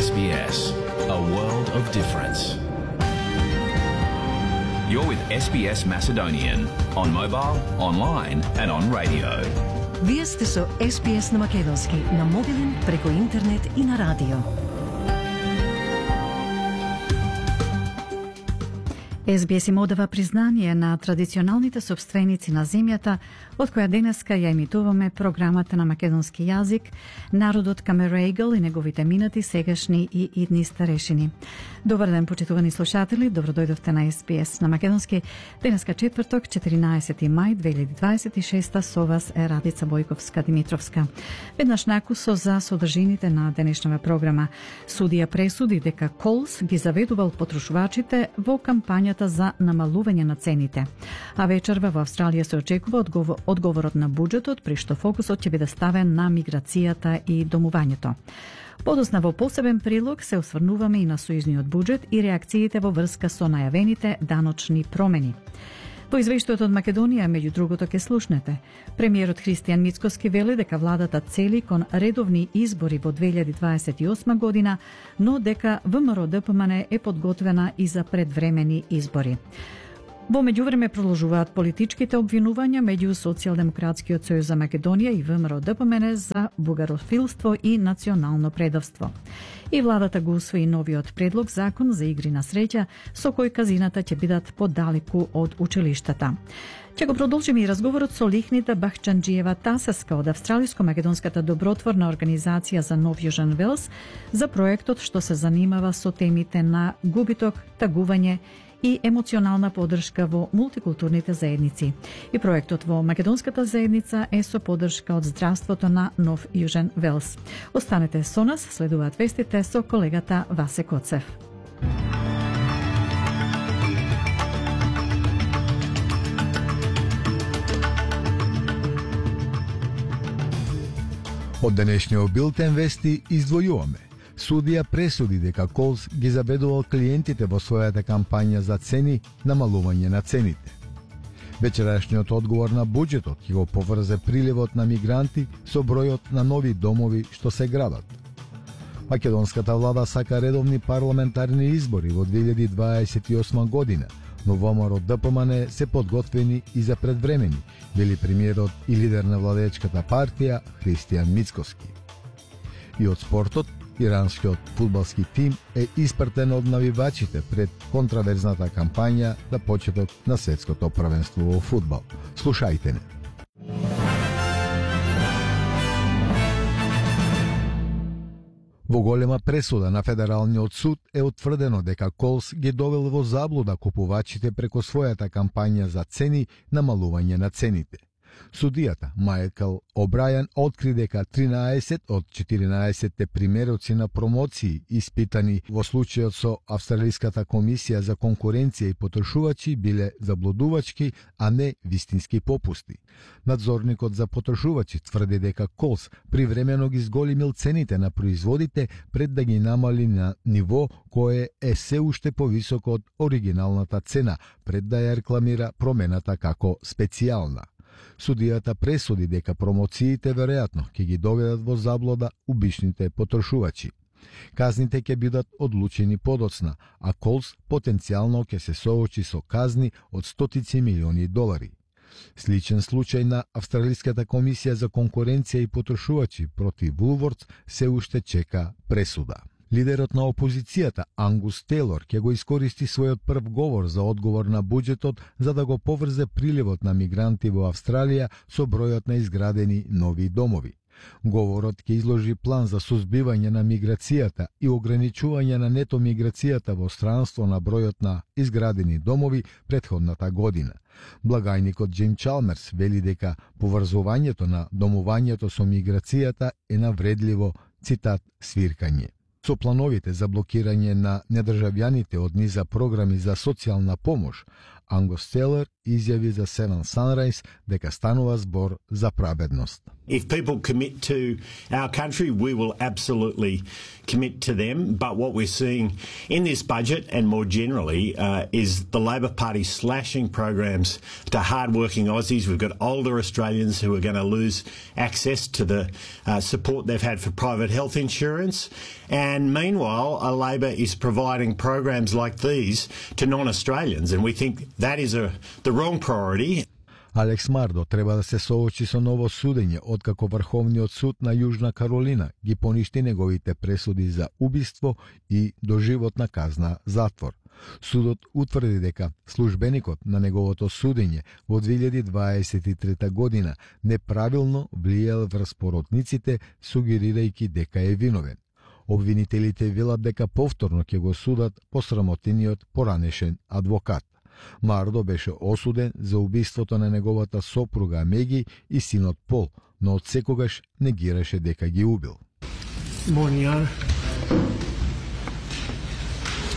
SBS, a world of difference. You're with SBS Macedonian on mobile, online and on radio. Вие сте со SBS на македонски, на мобилен, преку интернет и на радио. SBS им одава признание на традиционалните собственици на земјата, од која денеска ја емитуваме програмата на македонски јазик, народот Камерегал и неговите минати, сегашни и идни старешини. Добар ден, почитувани слушатели, добродојдовте на SBS на македонски. Денеска четврток, 14 мај 2026, со вас е Радица Бојковска-Димитровска. Веднаш накусо за содржините на денешната програма. Судија пресуди дека Колс ги заведувал потрошувачите во кампањата за намалување на цените. А вечерва во Австралија се очекува одговорот на буџетот, при што фокусот ќе биде ставен на миграцијата и домувањето. Подосна во посебен прилог се осврнуваме и на сојузниот буџет и реакциите во врска со најавените даночни промени. Во извештајот од Македонија, меѓу другото, ке слушнете. Премиерот Христијан Мицкоски вели дека владата цели кон редовни избори во 2028 година, но дека ВМРО-ДПМН е подготвена и за предвремени избори. Во меѓувреме продолжуваат политичките обвинувања меѓу Социјалдемократскиот сојуз за Македонија и ВМРО-ДПМН за бугарофилство и национално предавство. И владата го усвои новиот предлог закон за игри на среќа, со кој казината ќе бидат подалеку од училиштата. Ќе го продолжиме и разговорот со Лихнита Бахчанџиева Тасеска од Австралиско-македонската добротворна организација за Нов Јужен Велс за проектот што се занимава со темите на губиток, тагување и емоционална поддршка во мултикултурните заедници. И проектот во македонската заедница е со поддршка од здравството на Нов Јужен Велс. Останете со нас, следуваат вестите со колегата Васе Коцев. Од денешниот билтен вести издвојуваме. Судија пресуди дека Колс ги заведувал клиентите во својата кампања за цени, намалување на цените. Вечерашниот одговор на буџетот ќе го поврзе приливот на мигранти со бројот на нови домови што се градат. Македонската влада сака редовни парламентарни избори во 2028 година, но ВМРО-ДПМН се подготвени и за предвремени, вели премиерот и лидер на владеечката партија Христијан Мицкоски. И од спортот, иранскиот фудбалски тим е испратен од навивачите пред контраверзната кампања за почеток на светското првенство во фудбал. Слушајте не. Во голема пресуда на Федералниот суд е утврдено дека Колс ги довел во заблуда купувачите преку својата кампања за цени, намалување на цените. Судијата Майкл О'Брајан откри дека 13 од 14 примероци на промоции испитани во случајот со Австралиската комисија за конкуренција и потрошувачи биле заблудувачки, а не вистински попусти. Надзорникот за потрошувачи тврди дека Колс привремено ги зголемил цените на производите пред да ги намали на ниво кое е се уште повисоко од оригиналната цена, пред да ја рекламира промената како специјална. Судијата пресуди дека промоциите веројатно ќе ги доведат во заблуда обичните потрошувачи. Казните ќе бидат одлучени подоцна, а Колс потенцијално ќе се соочи со казни од стотици милиони долари. Сличен случај на Австралиската комисија за конкуренција и потрошувачи против Вулвордс се уште чека пресуда. Лидерот на опозицијата Ангус Тейлор ќе го искористи својот прв говор за одговор на буџетот за да го поврзе приливот на мигранти во Австралија со бројот на изградени нови домови. Говорот ќе изложи план за сузбивање на миграцијата и ограничување на нето миграцијата во странство на бројот на изградени домови претходната година. Благајникот Джим Чалмерс вели дека поврзувањето на домувањето со миграцијата е навредливо, цитат, свиркање. Со плановите за блокирање на недржавјаните од низа програми за социјална помош, Ангус Тейлор изјави за Seven Sunrise дека станува збор за праведност. If people commit to our country, we will absolutely commit to them. But what we're seeing in this budget and more generally is the Labor Party slashing programs to hard-working Aussies. We've got older Australians who are going to lose access to the support they've had for private health insurance. And meanwhile, Labor is providing programs like these to non-Australians. And we think that is the wrong priority. Алекс Мардо треба да се соочи со ново судење откако Врховниот суд на Јужна Каролина ги поништи неговите пресуди за убиство и доживотна казна затвор. Судот утврди дека службеникот на неговото судење во 2023 година неправилно влијал врз породниците, сугерирајќи дека е виновен. Обвинителите велат дека повторно ќе го судат посрамотениот поранешен адвокат. Мардо беше осуден за убиството на неговата сопруга Меги и синот Пол, но од секогаш негираше дека ги убил. Morning, Your Honor.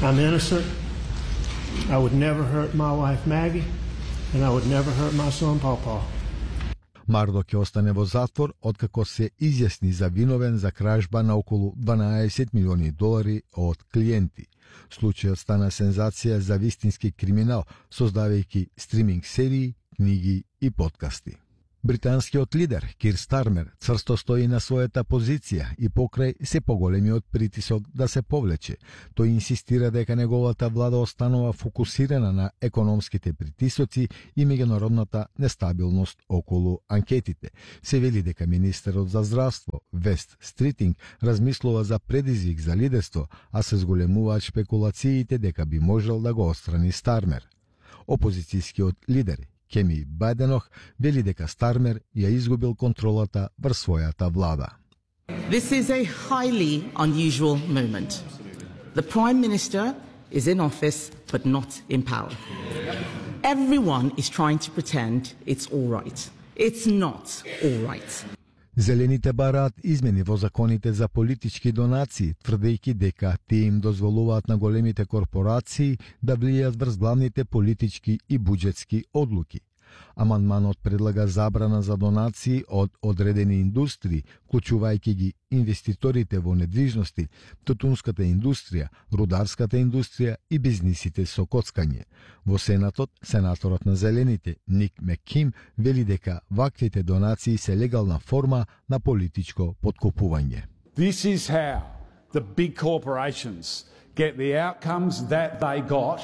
I'm innocent. I would never hurt my wife Maggie, and I would never hurt my son Pawpaw. Мардо ќе остане во затвор откако се изјасни за виновен за кражба на околу $12 милиони од клиенти. Случајот стана сензација за вистински криминал, создавајќи стриминг серии, книги и подкасти. Британскиот лидер Кир Стармер црсто стои на својата позиција и покрај се поголемиот притисок да се повлече. Тој инсистира дека неговата влада останува фокусирана на економските притисоци и меѓународната нестабилност околу анкетите. Се вели дека министерот за здравство Вест Стритинг размислува за предизвик за лидерство, а се зголемуваат шпекулациите дека би можел да го отстрани Стармер. Опозицијскиот лидер Кеми Бајденох вели дека Стармер ја изгубил контролата врз својата влада. This is a highly unusual moment. The Prime Minister is in office but not in power. Everyone is trying to pretend it's all right. It's not all right. Зелените бараат измени во законите за политички донации, тврдејќи дека тие им дозволуваат на големите корпорации да влијаат врз главните политички и буџетски одлуки. Амандманот предлага забрана за донации од одредени индустрии, вклучувајќи ги инвеститорите во недвижности, тутунската индустрија, рударската индустрија и бизнисите со коцкање. Во Сенатот, сенаторот на Зелените Ник Мекким вели дека ваквите донации се легална форма на политичко подкупување. This is how the big corporations get the outcomes that they got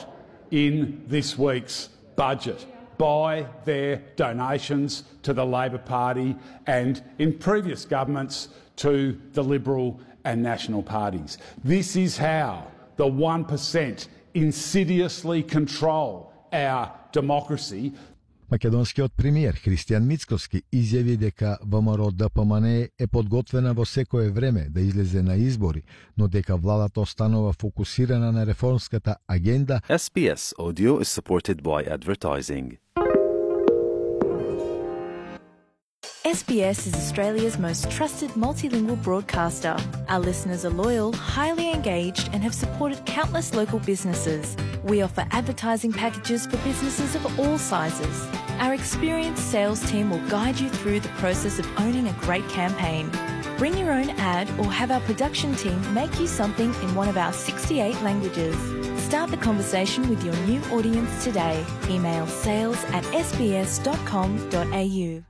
in this week's budget, by their donations to the Labor Party and in previous governments to the Liberal and National parties. This is how the 1% insidiously control our democracy. Македонскиот премиер Христијан Мицковски изјави дека ВМРО ДПМН е подготвена во секое време да излезе на избори, но дека владата останува фокусирана на реформската агенда. SBS Audio is supported by advertising. SBS is Australia's most trusted multilingual broadcaster. Our listeners are loyal, highly engaged, and have supported countless local businesses. We offer advertising packages for businesses of all sizes. Our experienced sales team will guide you through the process of owning a great campaign. Bring your own ad or have our production team make you something in one of our 68 languages. Start the conversation with your new audience today. Email sales@sbs.com.au.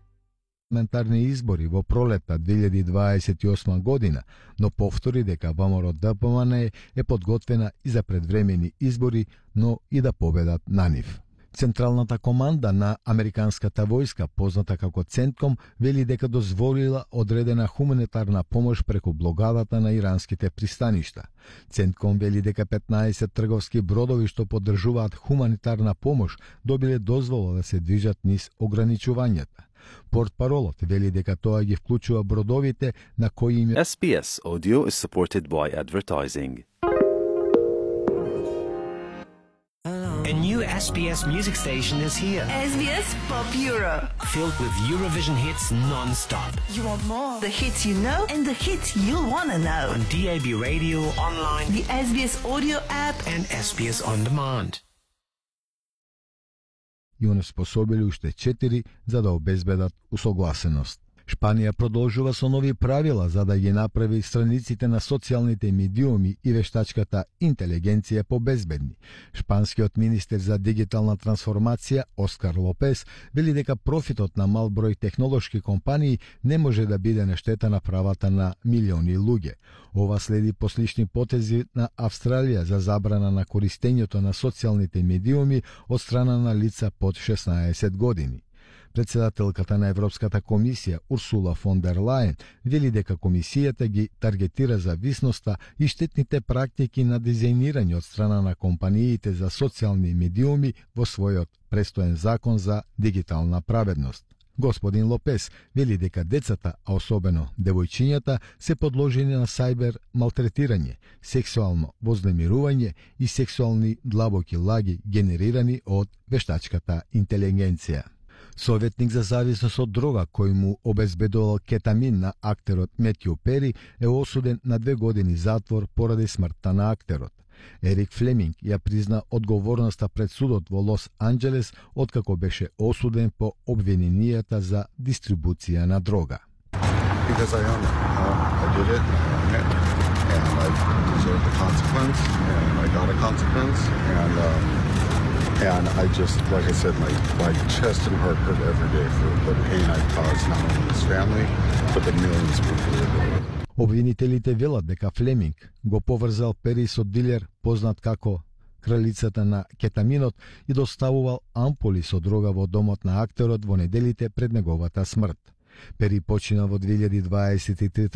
Парламентарни избори во пролетта 2028 година, но повтори дека ВМРО ДПМН е подготвена и за предвремени избори, но и да победат на нив. Централната команда на американската војска, позната како Центком, вели дека дозволила одредена хуманитарна помош преку блокадата на иранските пристаништа. Центком вели дека 15 трговски бродови што поддржуваат хуманитарна помош добиле дозвола да се движат низ ограничувањата. Портпаролот вели дека тоа ги вклучува бродовите на кои им... SBS Audio is supported by advertising. A new SBS music station is here. SBS Pop Euro. Filled with Eurovision hits non-stop. You want more? The hits you know and the hits you'll want to know. On DAB radio, online, the SBS audio app and SBS On Demand. и онеспособили уште 4 за да обезбедат усогласеност. Шпанија продолжува со нови правила за да ги направи страниците на социјалните медиуми и вештачката интелигенција побезбедни. Шпанскиот министер за дигитална трансформација Оскар Лопес вели дека профитот на мал број технолошки компании не може да биде на штета на правата на милиони луѓе. Ова следи по слични потези на Австралија за забрана на користењето на социјалните медиуми од страна на лица под 16 години. Председателката на Европската комисија Урсула фон дер Лајен вели дека комисијата ги таргетира зависноста и штетните практики на дизајнирање од страна на компаниите за социјални медиуми во својот престоен закон за дигитална праведност. Господин Лопес вели дека децата, а особено девојчињата, се подложени на сајбер малтретирање, сексуално вознемирување и сексуални длабоки лаги генерирани од вештачката интелигенција. Советник за зависност од дрога кој му обезбедувал кетамин на актерот Метју Пери е осуден на 2 години затвор поради смртта на актерот. Ерик Флеминг ја призна одговорноста пред судот во Лос Анџелес откако беше осуден по обвиненијата за дистрибуција на дрога. Because I own it. I did it, and I deserved the consequence, and I got a consequence, and I just, like I said, my chest and heart hurt every day for the pain I caused not only his family, but the millions of people. Обвинителите велат дека Флеминг го поврзал Пери со дилер познат како кралицата на кетаминот и доставувал ампули со дрога во домот на актерот во неделите пред неговата смрт. Пери почина во 2023